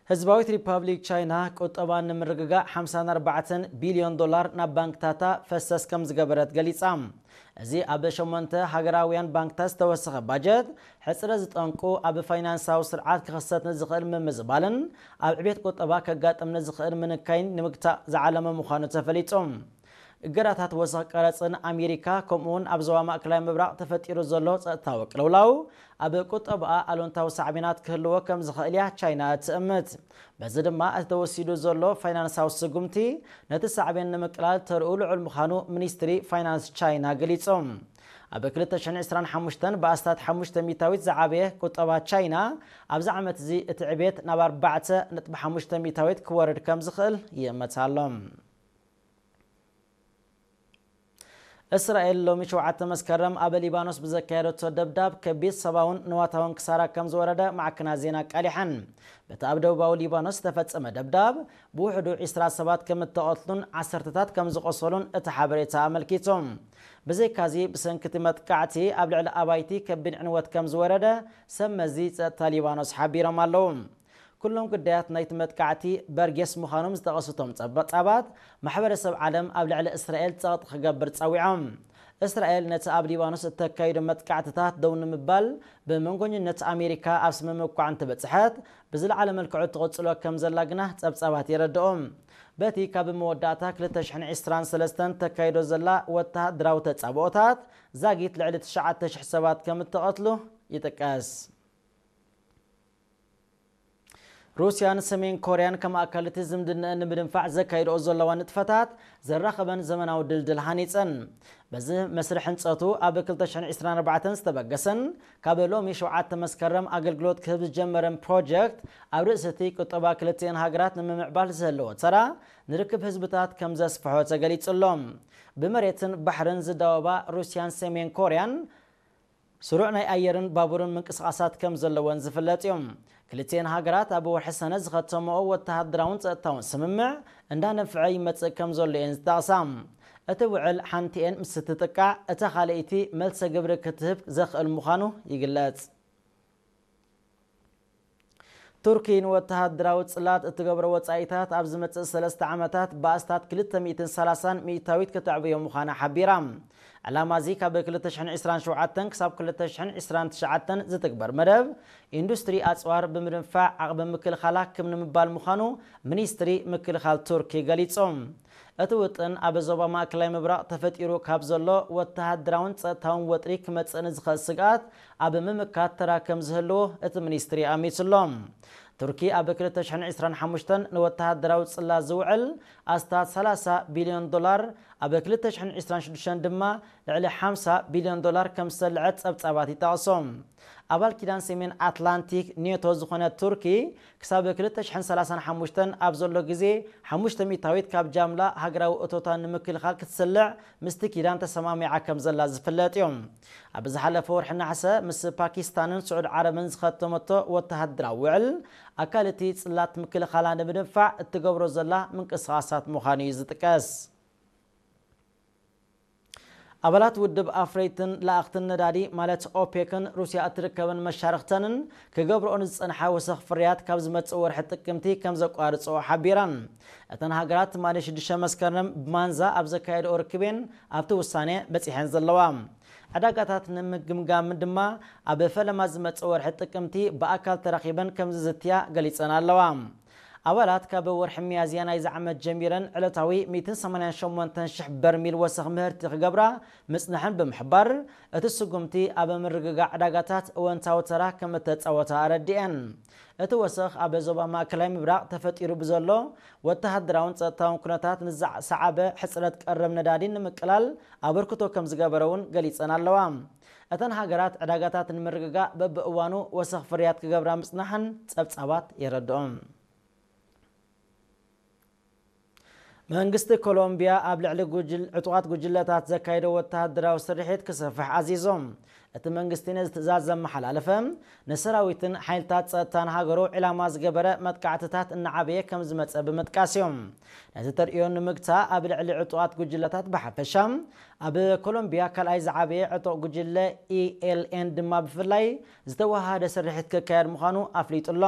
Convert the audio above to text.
ህዝባዊት ሪፓብሊክ ቻይና ቁጠባ ንምርግጋእ ሓምሳን ኣርባዕተን ቢልዮን ዶላር ናብ ባንክታታ ፈሰስ ከም ዝገበረት ገሊጻ። እዚ ኣብ ሸሞንተ ሃገራውያን ባንክታት ዝተወሰኸ ባጀት፣ ሕጽረት ዝጠንቁ ኣብ ፋይናንሳዊ ስርዓት ክኽሰት ንዝኽእል ምምዝባልን ኣብ ዕቤት ቁጠባ ከጋጥም ንዝኽእል ምንካይን ንምግታእ ዝዓለመ ምዃኑ ተፈሊጡ። እገዳታት ወሰኽ ቀረጽን ኣሜሪካ፣ ከምኡውን ኣብ ዞባ ማእከላይ ምብራቕ ተፈጢሩ ዘሎ ጸጥታዊ ቅልውላው ኣብ ቁጠባኣ ኣሉንታዊ ሳዕቤናት ክህልዎ ከም ዝኽእል እያ ቻይና እትእምት። በዚ ድማ እቲ ተወሲዱ ዘሎ ፋይናንሳዊ ስጉምቲ ነቲ ሳዕቤን ንምቅላል ተርኡ ልዑል ምዃኑ ሚኒስትሪ ፋይናንስ ቻይና ገሊጹ። ኣብ ክልተ ሽሕን ዕስራን ሓሙሽተን ብኣስታት ሓሙሽተ ሚታዊት ዝዓበየ ቁጠባ ቻይና፣ ኣብዚ ዓመት እዚ እቲ ዕቤት ናብ ኣርባዕተ ነጥቢ ሓሙሽተ ሚታዊት ክወርድ ከም ዝኽእል ይእመት ኣሎ። እስራኤል ሎሚ ሸውዓተ መስከረም ኣብ ሊባኖስ ብዘካየደቶ ደብዳብ ከቢድ ሰብኣውን ንዋታውን ክሳራ ከም ዝወረደ ማዕከናት ዜና ኣቃሊሐን። በቲ ኣብ ደቡባዊ ሊባኖስ ዝተፈጸመ ደብዳብ ብውሕዱ ዒስራ ሰባት ከም እተቐትሉን ዓሰርተታት ከም ዝቖሰሉን እቲ ሓበሬታ ኣመልኪቱ። ብዘይካዚ፣ ብሰንኪ እቲ መጥቃዕቲ ኣብ ልዕሊ ኣባይቲ ከቢድ ዕንወት ከም ዝወረደ ሰብ መዚ ጸጥታ ሊባኖስ ሓቢሮም ኣለዉ። ኩሎም ግዳያት ናይቲ መጥቃዕቲ በርጌስ ምዃኖም ዝጠቐሱ እቶም ጸብጻባት፣ ማሕበረሰብ ዓለም ኣብ ልዕሊ እስራኤል ጸቕጢ ክገብር ጸዊዖም። እስራኤል ነቲ ኣብ ሊባኖስ እተካይዶ መጥቃዕትታት ደው ንምባል ብመንጎኝነት ኣሜሪካ ኣብ ስምምዕ እኳ እንተበጽሐት፣ ብዝለዓለ መልክዑ ትቕጽሎ ከም ዘላ ግና ጸብጻባት የረድኡ። በቲ ካብ መወዳእታ ክልተ ሽሕን ዕስራን ሰለስተን ተካይዶ ዘላ ወተሃደራዊ ተጻብኦታት፣ ዛጊት ልዕሊ ትሽዓተ ሽሕ ሰባት ከም እተቐትሉ ይጥቀስ። ሩስያን ሰሜን ኮርያን ከም ኣካል እቲ ዝምድናኣን ንምድንፋዕ ዘካይድኦ ዘለዋ ንጥፈታት ዘራኸበን ዘመናዊ ድልድል ሃኒጸን። በዚ መስርሕ ህንጸቱ ኣብ ክልተ ሽሕን ዕስራን ኣርባዕተን ዝተበገሰን ካብ ሎሚ ሸውዓተ መስከረም ኣገልግሎት ክህብ ዝጀመረን ፕሮጀክት፣ ኣብ ርእሲ እቲ ቁጠባ ክልቲአን ሃገራት ንምምዕባል ዝህልዎ ተራ፣ ንርክብ ህዝብታት ከም ዘስፍሖ ተገሊጹ ኣሎ። ብመሬትን ባሕርን ዝዳወባ ሩስያን ሰሜን ኮርያን ስሩዕ ናይ ኣየርን ባቡርን ምንቅስቓሳት ከም ዘለወን ዝፍለጥ እዩ። ክልቲኤን ሃገራት ኣብ ወርሒ ሰነ ዝኸተመኦ ወተሃደራውን ጸጥታውን ስምምዕ እንዳነፍዐ ይመጽእ ከም ዘሎ እየን ዝጠቕሳ። እቲ ውዕል ሓንቲኤን ምስ እትጥቃዕ፣ እታ ካልኣይቲ መልሰ ግብሪ ክትህብ ዘኽእል ምዃኑ ይግለጽ። ቱርኪ ንወተሃደራዊ ጽላት እትገብሮ ወጻኢታት ኣብ ዝመጽእ ሰለስተ ዓመታት ብኣስታት ክልተ ሚእትን ሰላሳን ሚእታዊት ከተዕብዮ ምዃና ሓቢራ። ዕላማ እዚ ካብ ክልተ ሽሕን ዕስራን ሸውዓተን ክሳብ ክልተ ሽሕን ዕስራን ትሽዓተን ዝትግበር መደብ፣ ኢንዱስትሪ ኣጽዋር ብምድንፋዕ ዓቕሚ ምክልኻላ ክም ንምባል ምዃኑ ሚኒስትሪ ምክልኻል ቱርኪ ገሊጹ። እቲ ውጥን ኣብ ዞባ ማእከላይ ምብራቕ ተፈጢሩ ካብ ዘሎ ወተሃደራውን ጸጥታውን ወጥሪ ክመጽእ ንዝኽእል ስግኣት ኣብ ምምካት ተራ ከም ዝህልዎ እቲ ሚኒስትሪ ኣሚቱ ኣሎ። ቱርኪ ኣብ ክልተ ሽሕን ዕስራን ሓሙሽተን ንወተሃደራዊ ጽላት ዝውዕል ኣስታት ሰላሳ ቢልዮን ዶላር፣ ኣብ ክልተ ሽሕን ዕስራን ሽዱሽተን ድማ ልዕሊ ሓምሳ ቢልዮን ዶላር ከም ዝሰልዐት ጸብጻባት ይጠቕሱ። ኣባል ኪዳን ሰሜን ኣትላንቲክ ኔቶ ዝኾነት ቱርኪ፣ ክሳብ ክልተ ሽሕን ሰላሳን ሓሙሽተን ኣብ ዘሎ ግዜ፣ ሓሙሽተ ሚእታዊት ካብ ጃምላ ሃገራዊ እቶታ ንምክልኻል ክትስልዕ ምስቲ ኪዳን ተሰማሚዓ ከም ዘላ ዝፍለጥ እዩ። ኣብ ዝሓለፈ ወርሒ ነሓሰ ምስ ፓኪስታንን ስዑድ ዓረብን ዝኸተመቶ ወተሃደራዊ ውዕል፣ ኣካል እቲ ጽላት ምክልኻላ ንምድንፋዕ እትገብሮ ዘላ ምንቅስቓሳት ምዃኑ እዩ ዝጥቀስ። ኣባላት ውድብ ኣፍረይትን ለኣኽትን ነዳዲ ማለት ኦፔክን ሩስያ እትርከበን መሻርኽተንን ክገብርኦ ንዝጸንሓ ወሰኽ ፍርያት ካብ ዝመጽእ ወርሒ ጥቅምቲ ከም ዘቋርጽኦ ሓቢረን። እተን ሃገራት ትማሊ ሽዱሽተ መስከረም ብማንዛ ኣብ ዘካየድኦ ርክቤን ኣብቲ ውሳኔ በጺሐን ዘለዋ። ዕዳጋታት ንምግምጋምን ድማ ኣብ ፈለማ ዝመጽእ ወርሒ ጥቅምቲ ብኣካል ተራኺበን ከም ዝዝትያ ገሊጸን ኣለዋ። ኣባላት ካብ ወርሒ ሚያዝያ ናይዚ ዓመት ጀሚረን ዕለታዊ ሚእትን ሰማንያን ሸሞንተን ሽሕ በርሚል ወሰኽ ምህርቲ ክገብራ ምጽንሐን ብምሕባር፣ እቲ ስጉምቲ ኣብ ምርግጋእ ዕዳጋታት እወንታዊ ተራ ከም እተጻወተ ኣረዲኤን። እቲ ወሰኽ ኣብ ዞባ ማእከላይ ምብራቕ ተፈጢሩ ብዘሎ ወተሃደራውን ጸጥታውን ኩነታት ንዝሰዓበ ሕጽረት ቀረብ ነዳዲ ንምቅላል ኣበርክቶ ከም ዝገበረ እውን ገሊጸን ኣለዋ። እተን ሃገራት ዕዳጋታት ንምርግጋእ በብእዋኑ ወሰኽ ፍርያት ክገብራ ምጽናሐን ጸብጻባት የረድኦም። መንግስቲ ኮሎምቢያ ኣብ ልዕሊ ጉጅል-፣ ዕጡቓት ጉጅለታት ዘካየዶ ወተሃደራዊ ስርሒት ክሰፍሕ ኣዚዞም። እቲ መንግስቲ ነዚ ትእዛዝ ዘመሓላለፈ፣ ንሰራዊትን ሓይልታት ጸጥታን ሃገሩ ዒላማ ዝገበረ መጥቃዕትታት እናዓበየ ከም ዝመጸ ብምጥቃስ እዩ። ነዚ ተርእዮ ንምግታእ ኣብ ልዕሊ ዕጡቓት ጉጅለታት ብሓፈሻ፣ ኣብ ኮሎምቢያ ካልኣይ ዝዓበየ ዕጡቕ ጉጅለ ኢ ኤል ኤን ድማ ብፍላይ ዝተወሃደ ስርሒት ክካየድ ምዃኑ ኣፍሊጡ ኣሎ።